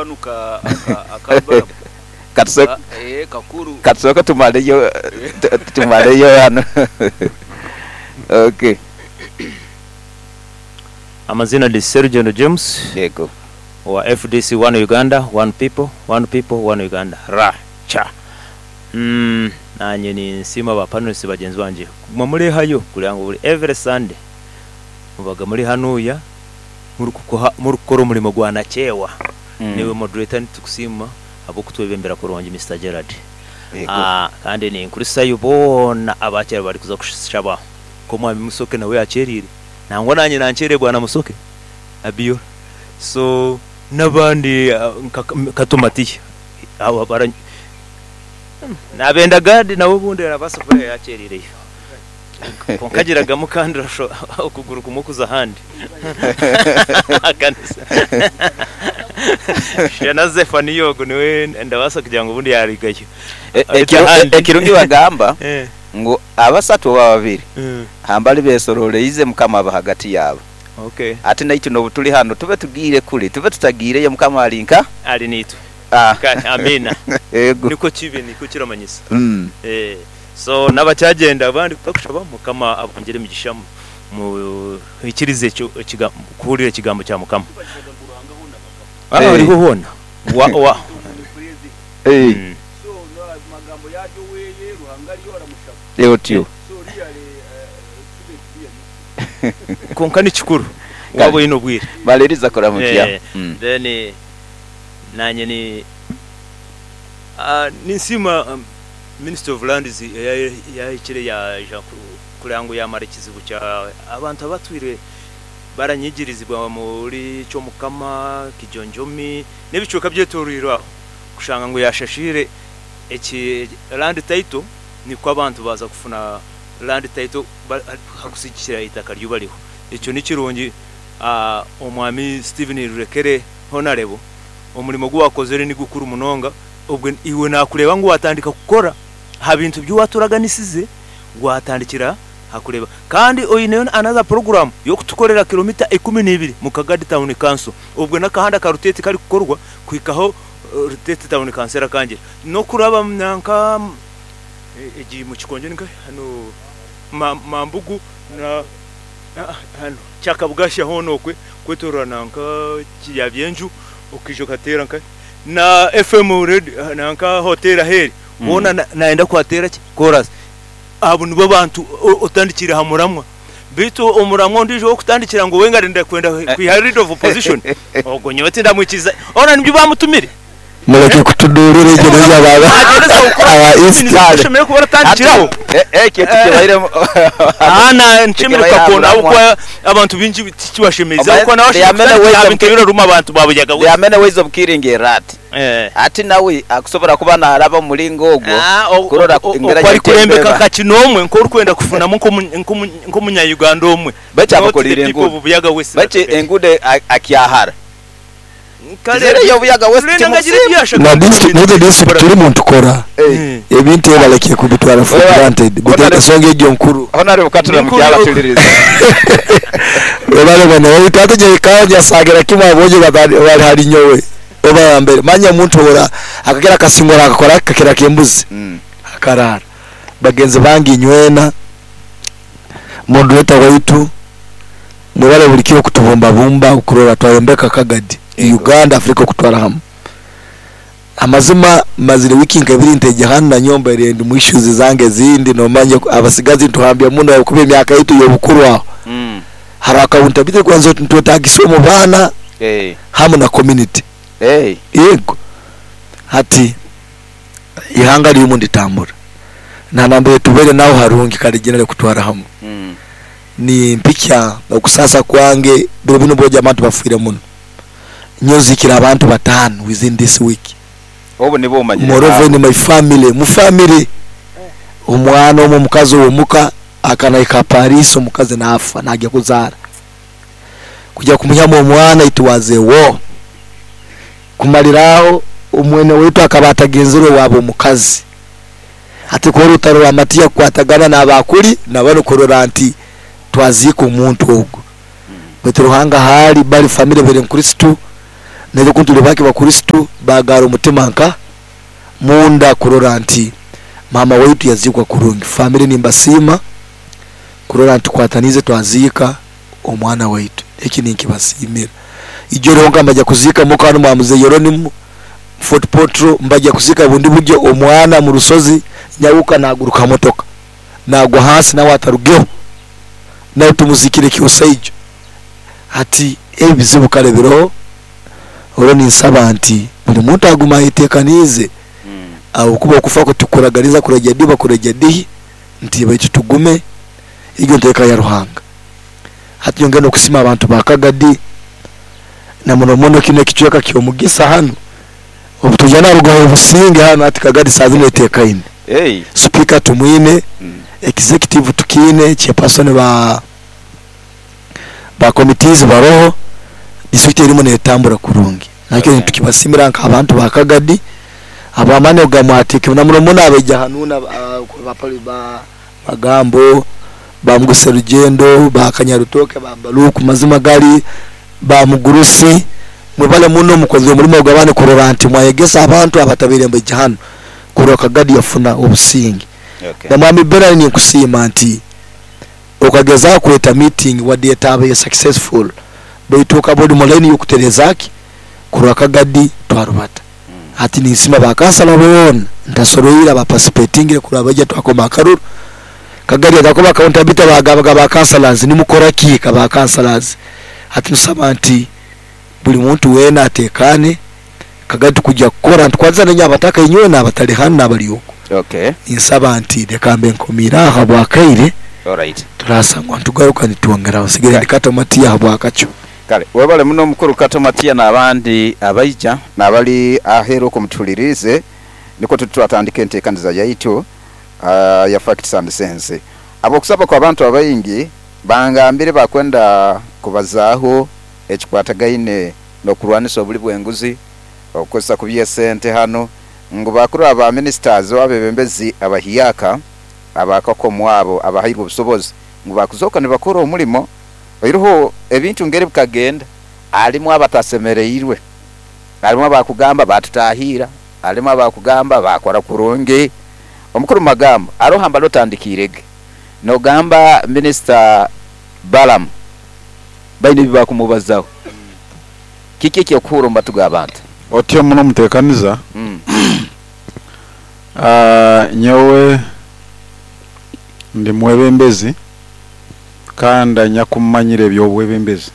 kanu ka aka Balamu. Katusooke Kakuru. Katusooke tumaleyo tumaleyo ghano. Ok. Amazina ndi Serugendo James Yego. owa fdc One Uganda, One People, One People, One Uganda, ra cha. Umm nanye ninsiima ba panelists bagyenzi bangye kuguma murehayo kureba ngu buri every Sunday mubaga muri hanuya murikukora omurimo gwa nakyewa. Naiwe moderator nitukusiima ahabw'okutwebembera kurungi Mister Gerald. Kandi ninkurisayo boona abakyari barikuza kushaba nk'omwami Musoke nawe yakyereire nangwa nanye nankyereire bwana Musoke Abiola so n'abandi nka Kato Matiya abo bara Nabenda Gad nawe obundi arabaasa kuba yakyereireyo kwonka agiragamu kandi okuguru kumwe kuza ahandi Ahakanisa. Shana Zephania ogwo niwe ndabaasa kugira ngu obundi yarugayo. Beitu ahandi. Ekirungi bagamba ngu abasatu oba babiri hambali besororeize Mukama aba hagati yaabo. Ati naitwe n'obu turi hanu tube tugiire kuri tube tutagiireyo Mukama ari nka? Ari naitwe. Ah. Kare, amiina. Yego. Nikwo kibe, nikwo kiramanyisa. Eh, so n'abakyagenda abandi kutakushaba Mukama abongyere emigisha muhikirize ekyo ekiga kuhurira ekigambo kya Mukama. Ah, Eh. oriho hoona. Wa, wa. Eh. Eh, otyo. Kwonka ni kikuru waaba oine obwire. Maliriza kuramukya. Eh, then Naanye ni ninsiima Ministry of Lands eyahikire yaija kureba ngu yamara ekizibu kya abantu abatwire baranyigirizibwa omuri Kyomukama, Kijonjomi n'ebicweka ebyetoroirwe aho kushanga ngu yashashiire eki land title nikwo abantu baaza kufuna land title hakusigikira eitaka ryubariho. Ekyo nikirungi Omwami Stephen Rurekere Honarebo omurimo gu wakozire ni gukuru munonga, obwe iwe nakureeba ngu watandika kukora aha bintu bi waturaganisize, watandikira aha kureeba kandi oineyo another program y'okutukorera kilomita 12 mu Kagadi Town Council, obwe n'akahanda ka Ruteete karikukorwa kuhikaho Ruteete Town Council erakangira n'okuraba nanka egi Mukikonjo ninkahi hanu Mambugu na Hanu Kyakabugasha hoona okwe kwetoroora nanka Kiryabyenju okaija okateera nka na FM radio nanka hoteeri ahu eri hoona nayenda kuhateera ki koorasi. Abo nibo bantu otandikiire aha muramwa. Beitu omuramwa ondiijo ow'okutandikira ngu we ngu arikwenda kwiha leader of opposition ogwo nyowe tindamwikiriza. Hoona nibyo baamutumire. Mureke kutuduurira egyo n'eyo aba East. Oshemereire kuba oratandikiraho. Ekyo tikibairemu. Aha nshemereire kukakona ahabw'okuba abantu baingi tikibashemeize ahabw'okuba nawe ashemereire kutandikira aha bintu ebiraruma abantu ba Buyaga There are many ways of killing a rat. Hati nawe akusobora kuba naraba omu muringo ogwo kurora engeri Oku arikurembeka nka kinoomwe nk'orikwenda kufunamu nk'omunya-Uganda omwe. Baitu Not the abakoreire people enguudo. of Buyaga West. Baitu enguudo akyahara. Kare Buyaga West Brenda ngu agire timukusiima. ebi yashaka Na kukora. n'eizo district turimu nitukora ebintu ebi barekire kubitwara for granted beitu ensonga egyo nkuru. Honorable Katura Ni nkuru. mukyala tuliriza. Webale bwana waitu hati nyeikaho nyasagira kimwe aboojo bari hari nyowe oba ya mbere manya omuntu ora akagera akasingura akakora kakira kembuzi akarara bagenzi bange inywena moderator waitu mwebale buri kiro kutubumbabumba okurora twayombeka Kagadi Uganda Africa okutwara hamu amazima mazire wiki nka ibiri nteija hanu nanyowe mbaire ndi mu issues zange ezindi nomanya abasigazi nituhambya muno ahabwokuba emyaka yaitu yobukuru aho hariho accountability kwanza nitwetagisa omu baana hamu na community yego hati ihanga ririmu nditambura na nambere tubaire naho harungi kare generally kutwara hamu nimpikya okusaasa kwange biro binu bwojo abantu bafiire muno nyowe nziikire abantu bataano within this week Obu nibwo omanyire moreover in my family mu family omwana omwe omukazi ow'omuka akanahika Paris omukazi naafa naagya kuzaara kugya kumuhyamu omwana it was a war Kumarira aho omwene waitu akaba atagenzire owaabo omukazi. Hati ku orutaro rwa Matiya kukwatagana n'aba kuri na banu kurora nti twaziika omuntu ogu. Baitu Ruhanga ahu ari bari famire beri Nkristo Naitwe ku turi bake Bakristo baagara omutima nka munda kurora nti maama waitu yaziikwa kurungi. Famire nimbasiima kurora nti tukwataniize twaziika omwana waitu. Eki ninkibasiimira. Ijo ryonka mbaija kuziika muka hanu mwa Mzee Yeronimo Fort Portal mbaija kuziika bundi buryo omwana mu rusozi nyahuka naguruka motoka nagwa hansi nawe atarugeho nawe tumuziikire Kyosaija. Hati ebizibu kare biroho, orwo ninsaba nti buri muntu agume ayetekaniize ahabw'okuba okufa kwo tikuraganiza kuraija di oba kuraija dihi, nti baitu tugume egyo nteeka ya Ruhanga. Hati nyongere n'okusiima abantu ba Kagadi na muno muno kinu ekicweka ky'omugisa hanu, obu twija narugaho obusinge hanu hati Kagadi saaha zinu eteekaine. Sipiika tumwine, executive tukiine, chairperson ba. Ba committees baroho, district erimu netambura kurungi. Nakyo nitukibasimira nk'abantu ba Kagadi habw'amaani ago gamwateekemu na muno muno abaija hanuuna ba Magambo, ba Mugusa Rugyendo, ba Kanyarutooke, ba Baluku mazima gali ba Mugurusi mwebale muno mukozire omurimo ogw'amaani kurora nti mwayegesa abantu abatabaire nibaija hanu kurora Kagadi yafuna obusinge. Na Mwami Bernard ninkusiima nti Okagezaho kweta meeting wadde etabaire successful baitu okaba ori mu line yokutereza ki kurwa Kagadi twarubata. Hati ninsima ba kansala boona ntasoroire aba participatingire kurwa baija twakoma akaruru. Kagadi yagakuba accountability bagabaga ba councillors nimukora ki ka ba councillors. Hati tusaba nti buri muntu weena atekane Kagadi tukuja kukora nitukwatisa nainywe abataka inywena abatari hanu nabari okwo. Okay. Ninsaba nti leka mbe nkomiire aho habw'akaire, Alright. turasangwa nitugaruka nitwongeraho. Nsigaire ndi Kato Matia habw'akakyo. Kale webale muno mukulu Kato Matia n'abandi abaija n'abali aheeru okwo mutuhuliriize. Nikwo tuti twatandika enteekaniza yaitu ya Facts and Sense. Habw'okusaba kw'abantu abaingi, bangambire bakwenda kubazaaho ekikwatagaine n'okurwanisa obuli bw'enguzi, okukozesa kubi esente hanu, ngu bakuru aba ministers oba abebembezi abahiaka abakakomwa abo abahairwe obusobozi ngu bakuzooka nibakora omurimo oiroho ebintu ngeri bikagenda harimu abatasemereirwe, harimu abakugamba batutahiira, harimu abakugamba bakora kurungi. Omukuru Magambo aroha mbali otandikiire ge nogamba Minisita Balaam baine ebi bakumubazaho. Kiki eky'okuhuura omu matu g'abantu? Otyo muno mutekaniza. Nyowe ndi mwebembezi kandi anyakumanyire eby'obwebembezi.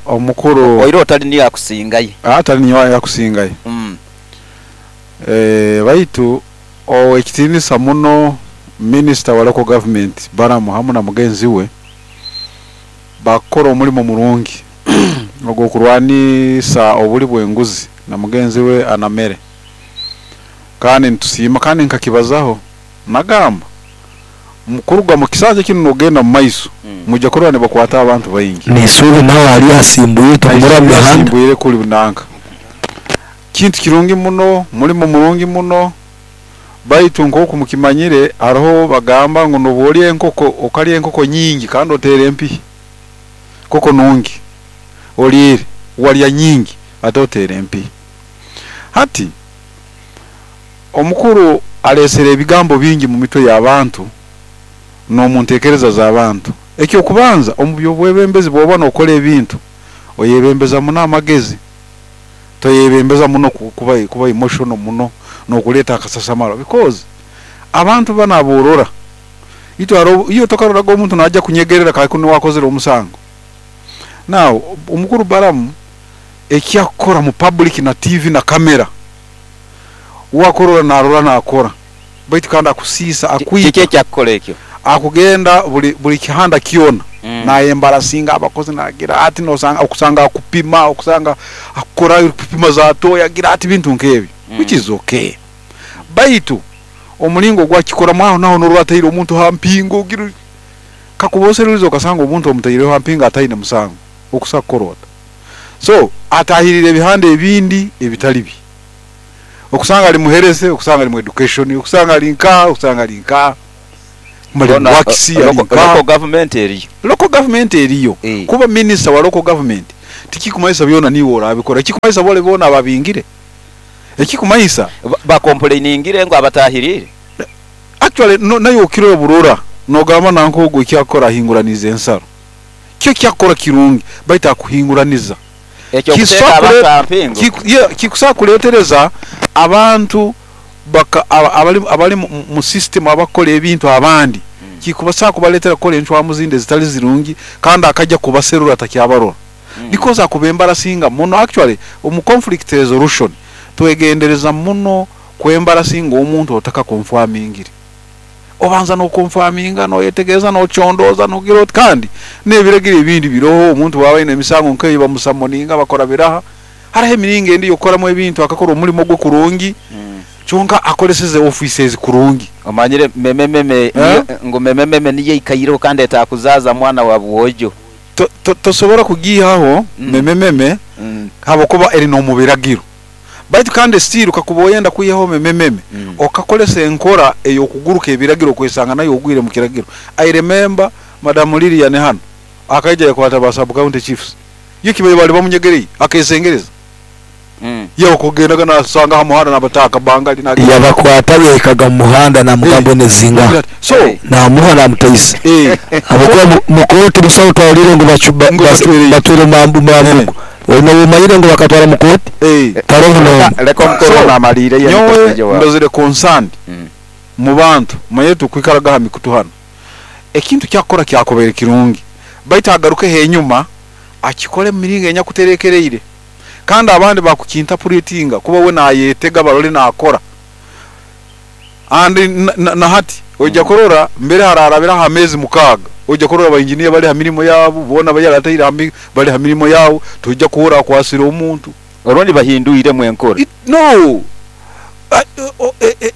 Omukuru. Oiroho tali niye akusingayo. Tali niyowe akusingayo. Baitu Ow'ekitiinisa muno Minisita wa Local Government Balaam hamu na mugenzi we bakukora omulimo murungi ogw'okurwanisa obuli bw'enguzi na mugenzi we Anamere kandi nitusiima kandi nkakibazaho nagamba kuruga mu kisanja kinu nogenda mu maiso mwija kurora nibakwata abantu baingi. N'eisuubi nawe ariyo asimbwire turikumurora mu mihanda. Asimbwire kuli nanka. Kintu kirungi muno, mulimo murungi muno, baitu nk'oku mukimanyire haroho bagamba ngu nobu olya enkoko okalya enkoko nyingi kandi oteera empihi. Nkoko nungi oliire walya nyingi ate oteera empihi. Hati omukuru aleesere ebigambo bingi mu mitwe y'abantu n'omu ntekereza z'abantu. Eky'okubanza omu by'obwebembezi bwoba n'okora ebintu oyebembeza muno amagezi. Toyebembeza muno kuba kuba emotional muno nokureeta akasasamaro because abantu banu aborora itwe haroho iwe tokaroraga omuntu naija kunyegerera kare kunu wakozere omusango. Now omukuru Balaam ekyakukora mu public na TV na camera wakurora narora nakora baitu kandi akusiisa Kiki akwita. ekyakukora ekyo? Akugenda buri buri kihanda kyona nayembarasinga abakozi nagira ati nosanga okusanga akupima okusanga akukora kupima za toyi agira ati ebintu nk'ebyo which is okay baitu omuringo ogu akikoramu aho naho norora ataire omuntu ha mpingo ogira oti kakuba oserurize okasanga omuntu omutaireho ha mpingo ataine musango okusa kukora ota so atahirire ebihanda ebindi ebitari bye okusanga ari mu health okusanga ari mu education okusanga ari nkaha okusanga ari nkaha. Mali Hoona works local ari nka government eriyo. Local government eriyo Eh. kuba minister wa local government Tikikumanyisa byona niiwe oraabikora. Ekikumanyisa bore boona ababingire. Ekikumanyisa. Bakompuleyningire ngu abatahiriire. Actually no naiwe okire oburora nogamba nanka ogu eki akukora ahinguraniize ensaro. Kyo eki akukora kirungi baitu akuhinguraniza. Eky'okuteeka abantu aha mpingo. Yeah, kikusobola kureetereza abantu baka abari abari mu system abakukora ebintu abandi kikubaasa kubareetera kukora encwamu zindi ezitari zirungi kandi akajja kubaserura atakyabarora because akubembarasinga muno. Actually omu conflict resolution twegendereza muno kwembarasinga omuntu otakakonfamingire. Obanza nokonfaminga, noyetegereza, nocondooza, nogira oti kandi n'ebiragiro ebindi biroho omuntu bwaba aine emisango nk'eyo bamusamoninga bakora biraha. Hariho emiringo endi ey'okukoramu ebintu akakora omurimo gwe kurungi kyonka akoreseze ofiisi ezi kurungi. Omanyire memememe Eh? ngu memememe niyo eikaireho kandi etakuzaaza mwana wa bwojo. To, to, tosobora kugiihaho memememe habwokuba eri n'omu biragiro. Baitu kandi still kakuba oyenda kwihaho memememe, okakoresa enkora ey'okuguruka ebiragiro okwesanga nayo ogwire mu kiragiro. I remember Madam Lilian hanu akaija yakwata ba sub county chiefs, yo kibaire bali bamunyegereire akesengereza. Ye okugendaga nasanga ha muhanda nabataha akabangali nagenda. Yabakwata yahikaga mu muhanda namugamba onezinga So, namuha namutaisa habwokuba mu kooti busaho twahurire ngu Ngu batwereyo. batwire mambugu oine obumanyire ngu bakatwara mu kooti taroho n'omu. Leka omukuru So, ono amaliire ye nyowe nikosejo wawe. ndozire concerned mu bantu manyire tukwikaraga ha mikutu hanu ekintu kyakukora kyakubaire kirungi baitu agarukeho enyuma akikore mu miringo enyakuterekereire kandi abandi bakukintapuretinga kuba we nayetega barole nakora and na hati oija kurora mbere hararabira aha meezi 6 oija kurora abainjiniya bari ha mirimo yabo boona bayarataire ha bari ha mirimo yabo toija kuhurra akwasire omuntu. Orundi bahinduiremu enkora. No.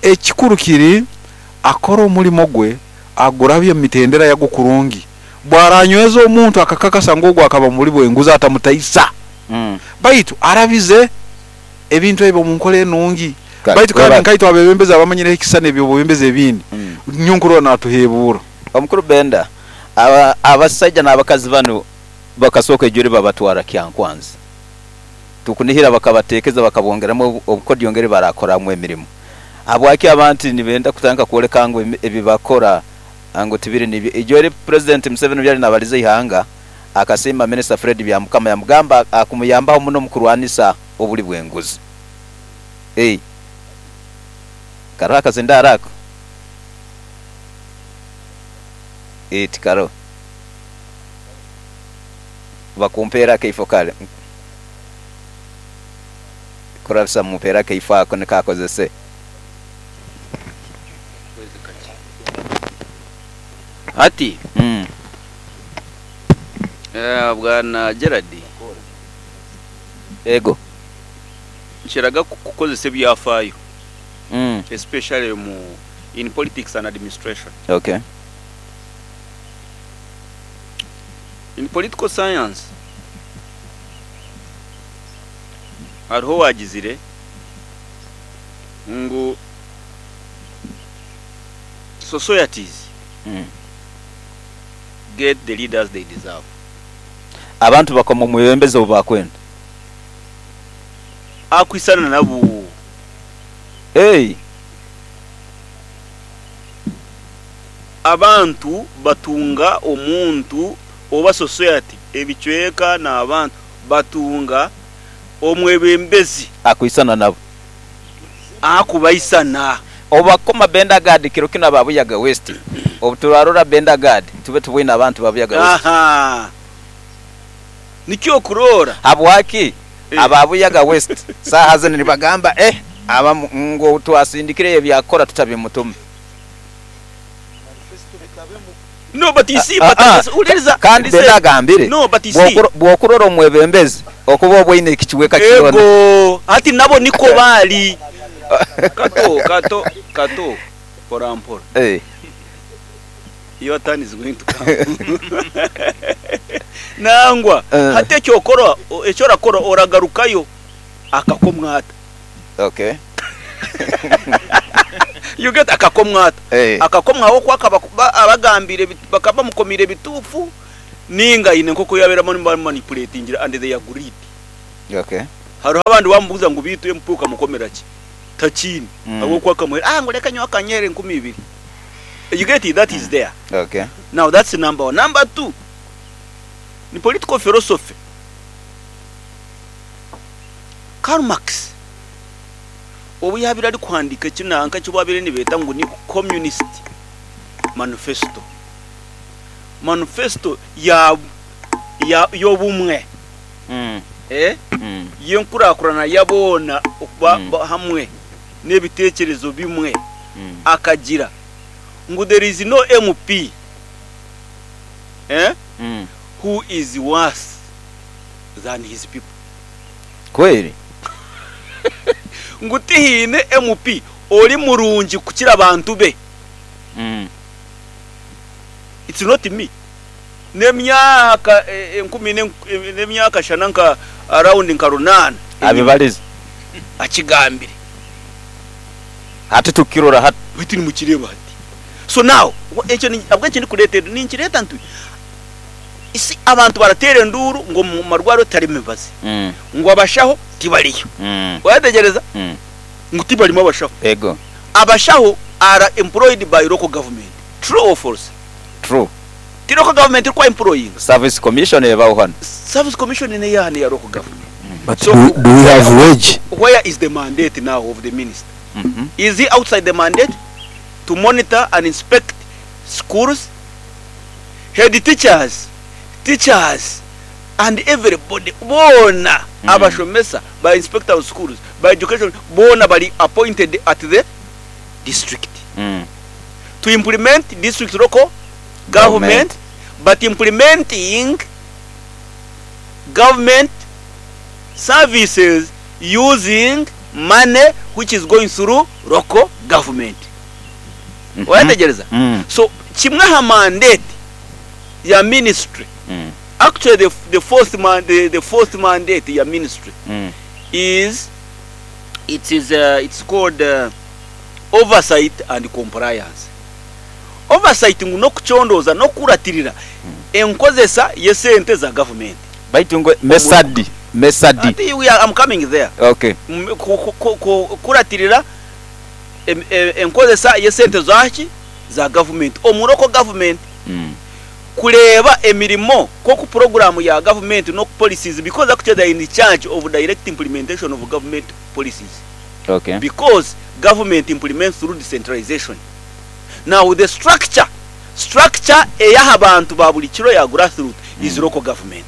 Ekikuru kiri akora omurimo gwe agurabye omu mitendera yagwo kurungi. Bwaranyweza omuntu akakakasa ngu ogwo akaba muburi bw'enguzi atamutaisa. Baitu arabize ebintu ebyo omu nkora enungi. Baitu kandi nkaitwe abebembezi abamanyireho ekisisani eby'obwebembezi ebindi, nyowe nkurora natuhebuura. Omukuru Benda, abasaija n'abakazi banu bakasooka ejuri babatwara Kyankwanzi. Tukunihira bakabateekeza bakabongeramu obukodyo ngeri barakoramu emirimo. Habwaki abantu nibenda kutandika kwoleka ngu ebi bakora ngu tibiri nibyo? Ijo eri Purezidenti Museveni obu yali nabaliza eihanga, akasiima Minisita Fred Byamukama yamugamba akumuyambaho muno omu kurwanisa obuli bw'enguzi. Ei, karoho akazindaaro ako? Ei, tikaroho. Bakumpeere akaifo kare. Kurabisa mumpeere akaifo ako nikakozese. Hati, Bwana Gerald. Ego. Nkiraga kukozesa ebyafaayo, especially mu in politics and administration. Okay. In political science, hariho owagizire ngu societies get the leaders they deserve. Abantu bakoma omwebembezi obu bakwenda. Akwisana nabo. Hey. Abantu batunga omuntu oba society ebicweka n'abantu batunga omwebembezi akwisana nabo. Akubaisana. Obakoma Benda Guard kiro kinu aba Buyaga West. Obu turarora Benda Guard tube tubwine abantu ba Buyaga West. Aha. Nikyo okuroora. Habwaki aba Buyaga West saaha zinu nibagamba abamu ngu twasindikire ebyakora tutabimutume. No, but you see, but uliriza, Kandi listen. Benda agambire, No, but you see. bw'okurora omwebembezi okuba obwaine ekikiweka kyona. Ego, hati nabo niko bali. Kato, kato, kato. Mpora mpora. Your turn is going to come. Nangwa, hati ekyokora, ekyorakora oragarukayo akakomwata. Okay. You get akakomwata. Akakomwaho kwaka abagambire bakaba mukomire bitufu. Ninga aine nk'oku yaabaire abamanipulatingire and they agreed. Okay. Hariho abandi waamubuuza ngu beitu MP okamukomera ki? Takiine. Mm. Ahabw'okuba akamuheera, ah ngu reka nyowe akanyeera 2000. You get it? That is there. Okay. Now that's number one. Number two, ni political philosophy. Karl Marx obu yaabaire arikuhandiika eki nanka eki baabaire nibeeta ngu ni Communist Manifesto, manifesto ya ya y'obumwe eh, y'enkurakurana ya boona okuba hamwe n'ebiteekyerezo bimwe, akagira ngu there is no MP eh, who is worse than his people. Kweri? Ngu tihaine MP ori murungi kukira abantu be. It's not me. N'emyaka enkumi n'emyaka shana nka around nka runaana enyima Abibarize. akigambire. Hati tukirora hati. Baitu nimukireeba hati. So now, ekyo ahabw'enki ndikureeta ebyo? Ninkireeta nti isi abantu barateera enduuru ngu omu marwariro tiharimu mibazi, ngu abashaho tibariyo. Wayetegereza? Ngu tibarimu abashaho. Ego. Abashaho are employed by local government. True or false? True. Ti local government erikuba employinga? Service commission ebaho hanu. Service commission neyaha neya local government. But So do, do we have wage? where is the mandate now of the minister? Is he outside the mandate to monitor and inspect schools, head teachers, teachers and everybody boona abashomesa, ba inspector of schools, ba education boona bari appointed at the district to implement district local government but implementing government services using money which is going through local government. Wayetegyereza? So kimwe aha mandate ya ministry, actually the, the fourth man, the, the fourth mandate ya ministry is it is it's called oversight and compliance. Oversight ngu n'okucondooza n'okukuratirira enkozesa y'esente za gavumenti. Baitu ngu mesadi, mesadi. Ati we are, I'm coming there. Okay. Kukuratirira enkozesa y'esente zaki? Za gavumenti omu local government. Kureeba emirimo nk'oku puroguraamu ya gavumenti n'oku policies because actually they are in charge of direct implementation of government policies. Okay. Because government implements through decentralization. Now the structure, structure ey'aha bantu ba buri kiro ya grassroot is local government.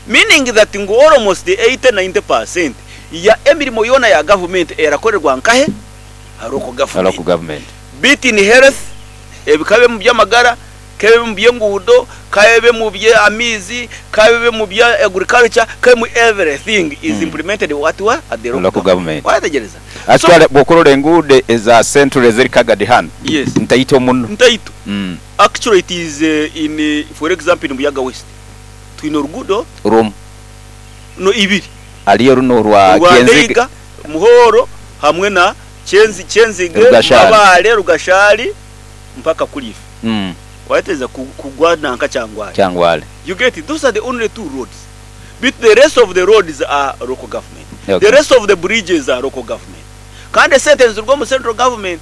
Meaning that ngu almost 80, 90 percent ya emirimo yoona ya gavumenti erakorerwa nkahe? Aha local government. Local government. Be it in health, kabe omu by'amagara, kabe omu by'enguudo, kabe omu by'amaizi, kabe omu bya agriculture, kabe omu everything is implemented what where? At the local Local government. government. Wayetegyereza? So, Actually bw'okurora enguudo eza central eziri Kagadi hanu yes. ntaito muno. Ntaito. Actually it is in for example in Buyaga West twine oruguudo Rumu. no ibiri. Hariyo runo orwa Orwa Kyenzige. Ndeiga, Muhoro hamwe na Kyenzi, Kyenzige, Rugashari. Mabale, Rugashari mpaka Kuriife. Wayetegyereza kugwa nanka Kyangwali. Kyangwali. You get it? Those are the only two roads. But the rest of the roads are local government. Okay. The rest of the bridges are local government. Kandi esente niziruga omu central government.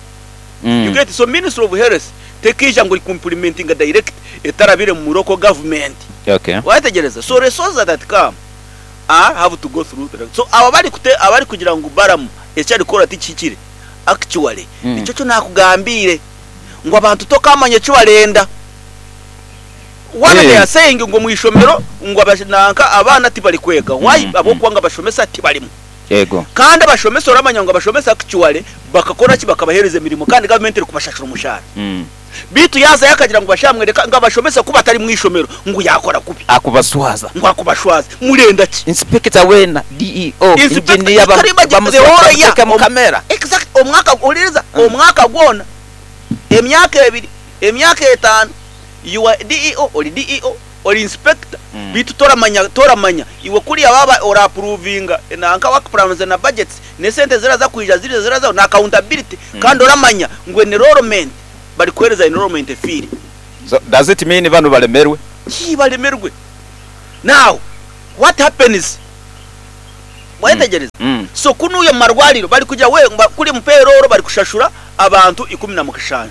You get it? So Ministry of Health tekeija ngu eriku-implementinga direct etarabire mu local government. Okay. Wayetegyereza? So resources that come are have to go through the So abo abarikute abarikugira ngu Balaam eki arikukora tikihikire actually nikyo kyo nakugambiire ngu abantu tokamanya eki barenda. One they are saying ngu omu ishomero ngu nanka abaana tibari kwega. Why? Ahabw'okuba ngu abashomesa tibarimu. Yego. Kandi abashomesa oramanya ngu abashomesa actually bakakora ki bakabahereza emirimo kandi gavumenti erikubashashura omushaara. Beitu yaazayo akagira ngu bashamwereka ngu abashomesa ku batari mu ishomero ngu yaakora kubi. Akubaswaza. Ngu akubashwaza. Murenda ki? Inspector weena, DEO, Inspector, engineer you can imagine the whole year. bamuteeka mu kamera. Exact, omwaka, huliriza, omwaka gwona, emyaka ebiri, emyaka etaano, you are DEO, ori DEO, ori inspector, beitu toramanya, toramanya, iwe kuriya waaba ora approvinga nanka work plans na budgets, n'esente eziraza kwija ziriza zirazaho, na accountability, kandi oramanya ngu enrollment, barikuheereza enrollment efiire. So does it mean banu balemerwe? Hii baremerwe. Now what happens? Mwayetegyereza? So kunuuya omu marwariro bari kugira we kuri omu payroll bari kushashura abantu 17.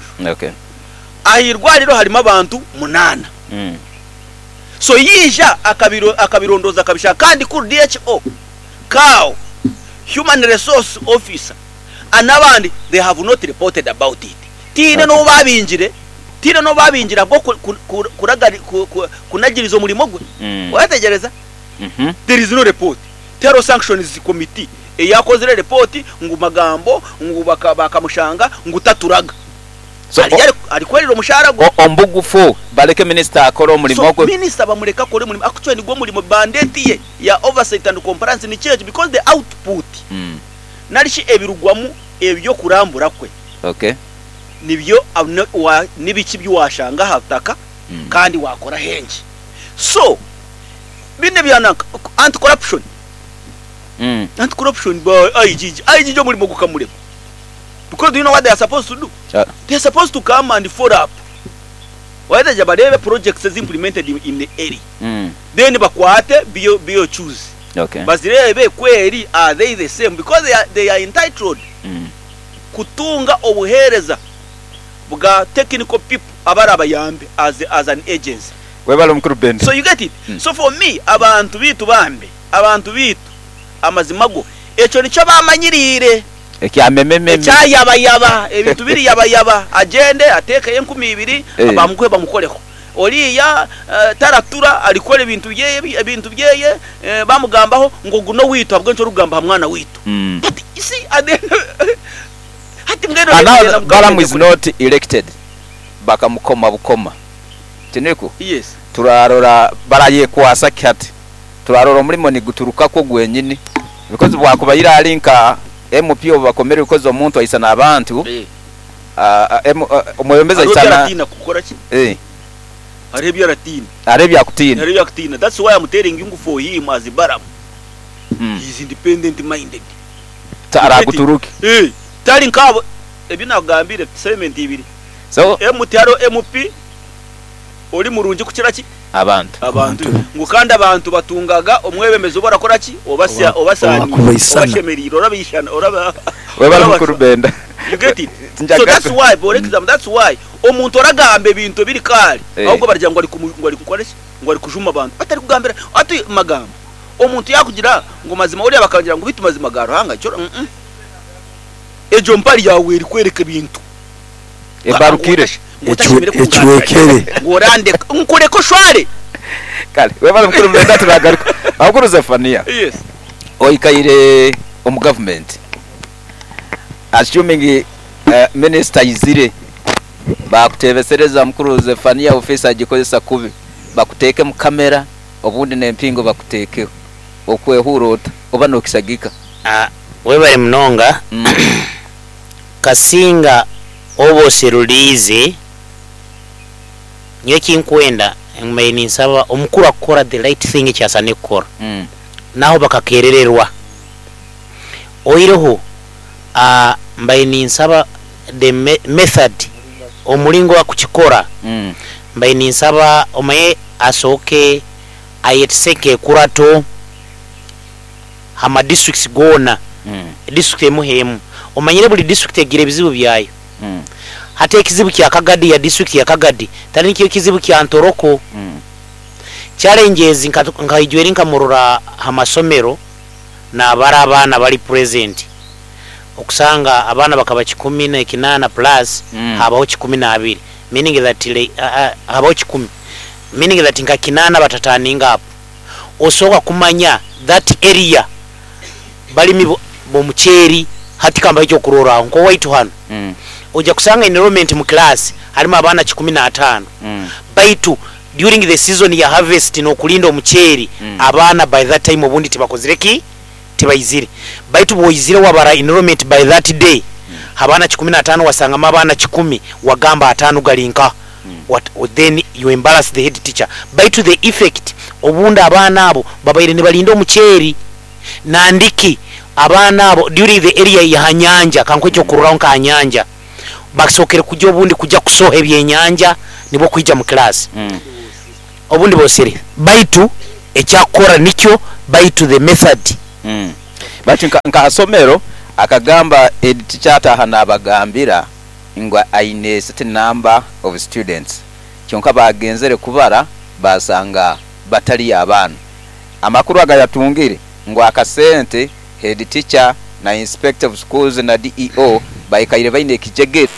Aha irwariro harimu abantu munaana. So yaija akabirondooza akabishanga kandi kuri DHO, CAO, Human Resource Officer n'abandi they have not reported about it. Tihaine n'ou baabingire, tihaine n'ou baabingire ahabw'okunagiriza omurimo gwe. Waayetegyereza? There is no report. Tihariho sanctions committee eyakozire report ngu magambo ngu bakamushanga ngu taturaga. So, Ari ari arikwerera omushaara gwe. Omubugufu baleke minisita akore omurimo So gwe. minisita bamureke akore omurimo actually nigwo murimo mandate ye ya oversight and compliance nikyo ekyo because the output nari shi ebirugwamu ebyokurambura kwe nibyo nibiki ebi washanga aha butaka kandi wakora hengi. So binu ebya nanka anti corruption anti corruption ba IGG IGG omurimo gukamurema. Because do you know what they are supposed to do? They are supposed to come and follow up. Wayetegye bareebe projects ezi implemented in the area. Then bakwate BOQs. Bazireebe ku eri are they the same because they are, they are entitled kutunga obuheereza bwa technical people abarabayambe as, as an agency. Webale mukuru Ben. So you get it? So for me abantu baitu bambi, abantu baitu amazima go ekyo nikyo bamanyiriire. Ekya memememe. Ekya yabayaba, ebintu biri yabayaba, agyende ateekeyo 2000 bamuguhe bamukoreho. Oriiya taratura arikukora ebintu byeye ebintu byeye bamugambaho ngu ogu n'owaitu ahabw'enki orikugamba aha mwana waitu. But you see at the end hati mbwenu And orenda now kugyenda Balaam is kure. not elected bakamukoma bukoma tiniku? Yes. Turarora barayekwasa ki hati? Turarora omurimo niguturukakwo gwenyini because bwakubaire ari nka MP obubakomere because omuntu aisana abantu omwebembezi Hariho ebi aisana aratiina kukora ki? Hariho ebi aratiina. Hariho ebi akutiina. Hariho ebi akutiina. That's why I'm telling you ngu for him as Balaam, he is independent minded. Araguturuke. Tari nkaabo ebi nakugambire segment ibiri. So Emu tihariho MP ori murungi kukira ki? Abantu. Abantu. Ngu kandi abantu batungaga omwebembezi ou barakora ki? Obasya, obasaaniire, Owakubaisana. obashemereire, orabaishana, oraba, Webale orabacwa. mukuru Benda. You get it? So Tinjagaruka. that's why, for example, that's why omuntu oragamba ebintu ebiri kaari, ahubwo baragira ngu ari kumu, ngu ari kukora ki? Ngu ari kujuma abantu. Atari kugambira, ati magambo. Omuntu yaakugira ngu mazima oriya bakangira ngu beitu mazima ga Ruhanga, ekyo, uh-uh. Egyo mpare yaawe erikworeka ebintu. Ebarukire. Ecwekere. Ngu orandeka, nkureke oshware. Kale, webale mukuru Benda turagaruka. Mukuru Zephania. Yes. Oikaire omu government. Assuming minister aizire bakutebesereza mukuru Zephania office agikozesa kubi. Bakuteeke mu camera obundi n'empingo bakuteekeho. Okwehuura ota? Oba nokisagika? Webale munonga. Kasinga oba oseruliize, nyowe ekinkwenda mbaire ninsaba omukuru akukora the right thing eki asaine kukora naho bakakerererwa. Oihireho mbaire ninsaba the method, omuringo akukikora, mbaire ninsaba omanye asooke ayetise nk'ekurato aha ma districts goona, district emu h'emu. Omanyire buri district egira ebizibu byayo. Hati ekizibu kya Kagadi ya district ya Kagadi tari nikyo ekizibu kya Ntoroko. Challenges nka nkaijweri nkamurora aha masomero nabara abaana bari present okusanga abaana bakaba 108 plus habaho 12 meaning that habaho 10 meaning that nka kinaana batataninga up. Osooka kumanya that area balimi b'omuceeri hati kambahe ekyokurorraho nk'owaitu hanu oija kusanga enrollment mu class harimu abaana 105 baitu during the season ya harvest n'okurinda omuceeri abaana by that time obundi tibakozire ki? Tibaizire baitu bwoizire wabara enrollment by that day abaana 105 wasangamu abaana 10 wagamba ataano gari nka what then you embarrass the head teacher baitu the effect obundi abaana abo babaire nibarinda omuceeri nandiki abaana abo during the area ya nyanja kankuhe ekyokurorraho nka nyanja basookere kugya obundi kugya kusoha ebyenyanja nibwo kwija mu class. Obundi bosire baitu ekyakukora nikyo baitu the method. Baitu nka hasomero akagamba head teacher ataaha nabagambira ngu aine a certain number of students kyonka bagenzere kubara basanga batariyo abaana. Amakuru agayatungire ngu akasente head teacher na inspector of schools na DEO baikaire baine ekijegere.